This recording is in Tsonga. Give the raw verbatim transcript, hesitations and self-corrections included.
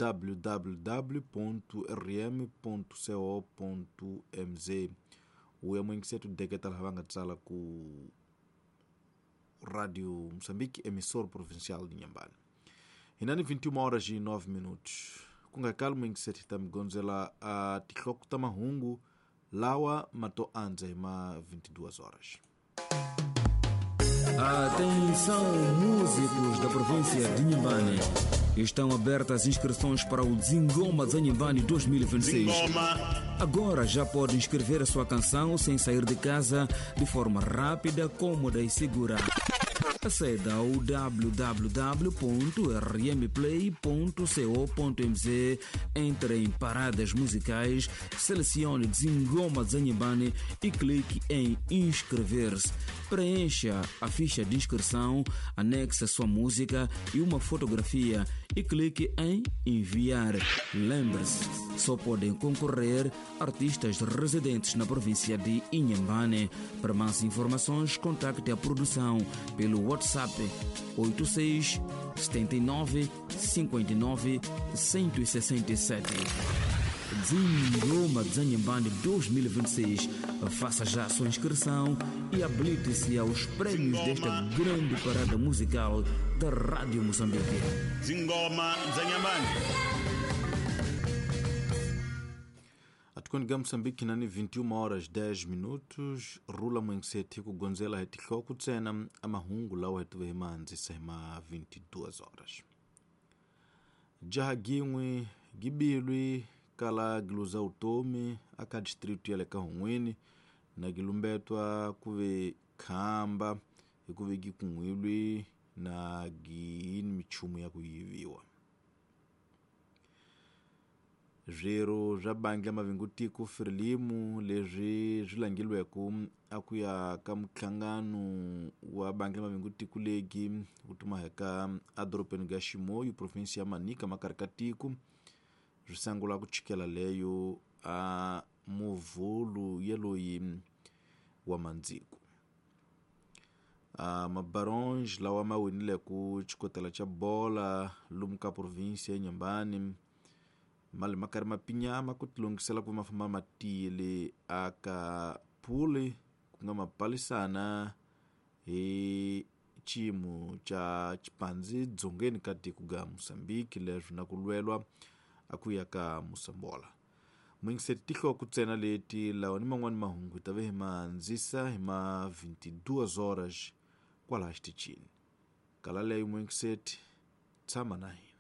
w w w ponto r m ponto co ponto m z. U ya muyingiseri deketa laha va nga tsala ku Rádio Moçambique, emissor provincial de Inhambane. Hina ni vinte e uma horas e nove minutos. Ku nga kali muyingiseri hi ta mi gondzela a tihloko ta mahungu lawa ma to andza hi ma vinte e duas horas. Atenção, músicos da província de Inhambane. Estão abertas inscrições para o Zingoma Zanhambane dois mil e vinte e seis. Agora já pode inscrever a sua canção sem sair de casa, de forma rápida, cômoda e segura. Aceda ao w w w ponto r m play ponto co ponto m z, entre em paradas musicais, selecione Zingoma Zanhambane e clique em inscrever-se. Preencha a ficha de inscrição, anexe a sua música e uma fotografia e clique em enviar. Lembre-se, só podem concorrer artistas residentes na província de Inhambane. Para mais informações, contacte a produção pelo WhatsApp oito seis, setenta e nove, cinquenta e nove, cento e sessenta e sete. Zingoma Zanhambane dois mil e vinte e seis. Faça já a sua inscrição e habilite-se aos prêmios desta grande parada musical da Rádio Moçambique. Zingoma Zanhambane. Atikoniga Moçambique nani vinte e uma horas dez minutos. Rula mwengiseti ku gonzela hi tihloko ntsena amahungu lawa hi tive hi ma andzisa hi ma vinte e duas horas. Jaha gin'we gibilwi kala giluza utomi aka distrito ya le ka Hun'wini na gilumbetwa ku ve khamba hi ku ve gikun'wilwi na gini michumu ya ku yiviwa. Swirho swa bangi ya mavingutiko Frelimo leswi swi langilweke a ku ya ka minhlangano wa bangi ya mavingutiko legi wu tumaheka edorobeni ga Chimoio, provinsi ya Manica, makarhi ka tiko, swi sungula ku chikela leyo a muvhulu yeloyi wa mandziko. A mabaronge lawa ma winile ku xikotela xa bola lomu ka provinsi ya Inhambane mali ma karhi ma pinyama ku tilunghisela ku ma famba ma tiyile aka phuli ku nga mapalisana hi xiyimo xa xipandzi dzongeni ka tiko ga Moçambique leswi na ku lwelwa a ku ya ka Moçambola. Muyingiseri tihloko ntsena leti lawa ni man'wani mahungu hi ta ve hi ma andzisa hi ma vinte e duas horas kwalaha xitichini. Kala leyo muyingiseri tshama na hina.